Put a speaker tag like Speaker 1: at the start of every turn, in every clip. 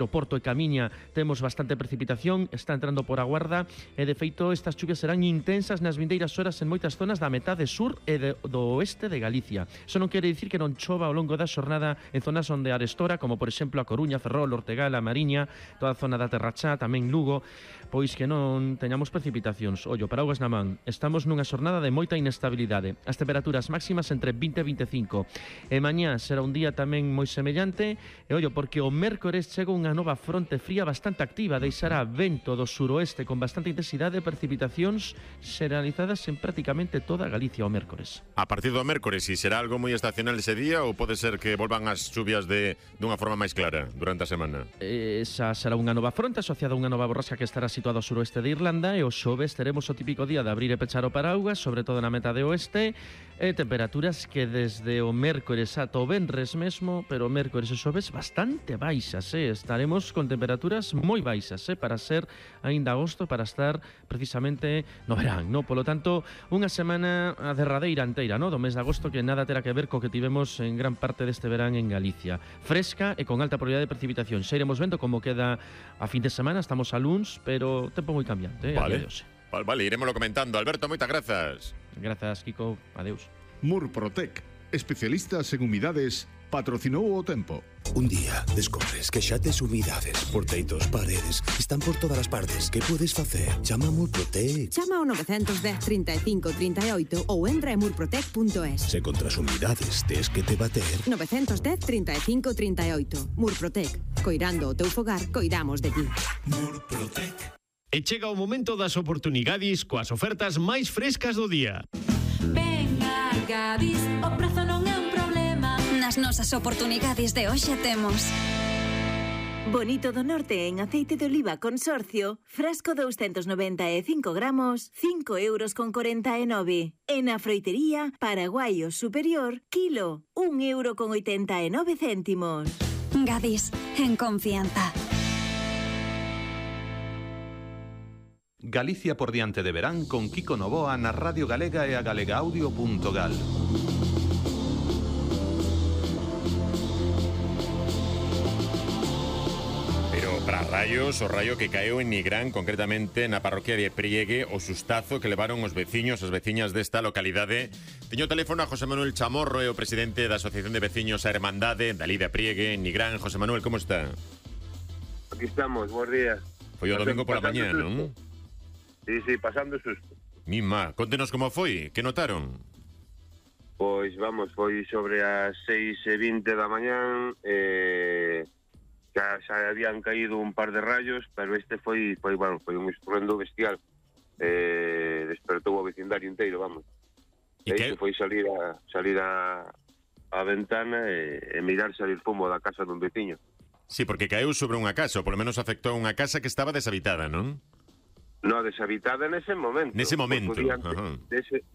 Speaker 1: No Porto e Camiña temos bastante precipitación, está entrando por a Guarda e de feito estas chuvias serán intensas nas vindeiras horas en moitas zonas da metade sur e do oeste de Galicia. Iso non quere dicir que non chova ao longo da xornada en zonas onde arestora, como por exemplo a Coruña, Ferrol, Ortegal, a Mariña, toda a zona da Terra Chá, tamén Lugo, pois que non teñamos precipitacións. Ollo, paraugas na man, estamos nunha xornada de moita inestabilidade. As temperaturas máximas entre 20 e 25. E mañá será un día tamén moi semellante, e ollo, porque o mércores chega unha nova fronte fría bastante activa, deixará vento do suroeste con bastante intensidade e precipitacións xeralizadas en prácticamente toda Galicia o mércores.
Speaker 2: A partir do mércores, si será algo moi estacional ese día ou pode ser que volvan as chuvias dunha forma máis clara durante a semana?
Speaker 1: Esa será unha nova fronte asociada a unha nova borrasca que estará situada ao suroeste de Irlanda e o xoves teremos o típico día de abrir e pechar o paraugas, sobre todo na metade oeste, e temperaturas que desde o mércores ata o venres mesmo, pero o mércores e xoves bastante baixas, estaremos con temperaturas moi baixas, para ser aínda agosto, para estar precisamente no verán, no? Polo tanto, unha semana a derradeira inteira, no? Do mes de agosto que nada terá que ver co que tivemos en gran parte deste verán en Galicia. Fresca e con alta probabilidade de precipitación. Xa iremos vendo como queda a fin de semana, estamos a luns, pero tempo moi cambiante,
Speaker 2: Vale, vale, iremoslo comentando. Alberto, moitas grazas.
Speaker 1: Grazas, Kiko, adeus.
Speaker 3: Murprotec, especialistas en humidades, patrocinou o tempo.
Speaker 4: Un día descubres que xa tes humidades por teitos, paredes, están por todas as partes. Que podes facer? Chama a Murprotec.
Speaker 5: Chama ao 910 35 38 ou entra en murprotec.es.
Speaker 4: Se contra as humidades tes que te bater.
Speaker 5: 910 35 38. Murprotec. Coirando o teu fogar, coidamos de ti.
Speaker 6: Murprotec. E chega o momento das oportunidades coas ofertas máis frescas do día.
Speaker 7: Venga, Gadis, o prezo non é un problema.
Speaker 8: Nas nosas oportunidades de hoxe temos
Speaker 9: Bonito do Norte en aceite de oliva Consorcio, frasco 295 gramos, 5,49 €. En a froitería, Paraguayo Superior, kilo, 1,89 €.
Speaker 8: Gadis, en confianza.
Speaker 10: Galicia por diante de verán con Kiko Novoa na Radio Galega e a galegaaudio.gal.
Speaker 2: Pero para rayos, o raio que caeu en Nigrán, concretamente na parroquia de Priegue, o sustazo que levaron os veciños, as veciñas desta localidade. Teño o teléfono a José Manuel Chamorro, o presidente da Asociación de Veciños a Hermandade, dali de Priegue, en Nigrán. José Manuel, como está?
Speaker 11: Aquí estamos, bons días.
Speaker 2: Foi o domingo pola mañá, non?
Speaker 11: Sí, pasando susto.
Speaker 2: Mima, contenos como foi, que notaron?
Speaker 11: Pois vamos, foi sobre as 6:20 da mañán, xa habían caído un par de rayos, pero este foi un estruendo bestial. Despertou o vecindario inteiro, vamos. E que foi salir a ventana e mirar salir fumo da casa dun veciño.
Speaker 2: Sí, porque caeu sobre unha casa, ou polo menos afectou unha casa que estaba deshabitada, non?
Speaker 11: No, deshabitada nese momento.
Speaker 2: Nese momento.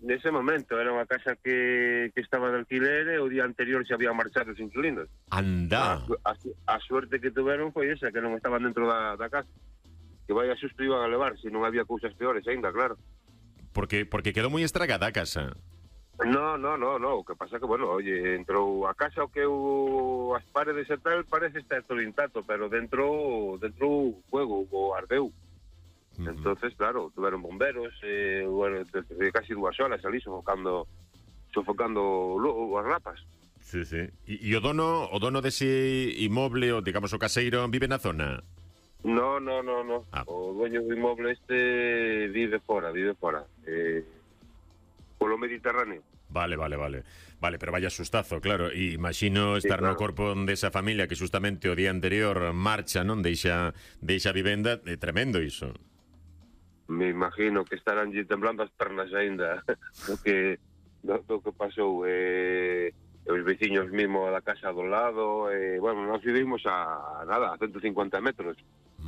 Speaker 11: Nese momento, era unha casa que estaba de alquiler e o día anterior se habían marchado os inquilinos.
Speaker 2: Anda.
Speaker 11: A suerte que tuveron foi esa, que non estaban dentro da casa. Que vaya susto iban a levar, se non había cousas peores aínda, claro.
Speaker 2: Porque quedou moi estragada a casa.
Speaker 11: No, o que pasa que, bueno, oye, entrou a casa o que as paredes e tal parece estar todo intacto, pero dentro fuego, o ardeu. Entonces, claro, tuveron bomberos, bueno, casi 2 horas ali sofocando as rapas.
Speaker 2: Sí. E o dono dese inmoble, o digamos o caseiro, vive na zona?
Speaker 11: No. O dueño do inmoble este vive fora. Polo Mediterráneo.
Speaker 2: Vale, pero vaya sustazo, claro. E imagino estar no corpo desa familia que justamente o día anterior marcha, non? Deixa a vivenda, é tremendo iso.
Speaker 11: Me imagino que estarán temblando as pernas aínda do que pasou. Os veciños mismo da casa do lado, bueno, nós vivimos a 150 metros.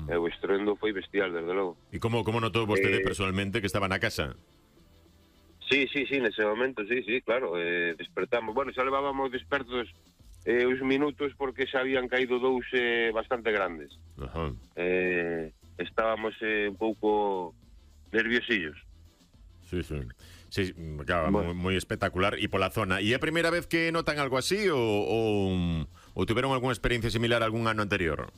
Speaker 11: O estruendo foi bestial, desde logo.
Speaker 2: E como notou vostede personalmente que estaba na casa?
Speaker 11: Sí, nese momento, sí, claro. Despertamos, bueno, xa levábamos despertos uns minutos porque xa habían caído 2 bastante grandes. Estábamos un pouco nerviosillos.
Speaker 2: Sí, claro, bueno. moi espectacular. E pola zona, e é a primeira vez que notan algo así ou tiveron algunha experiencia similar algún ano anterior?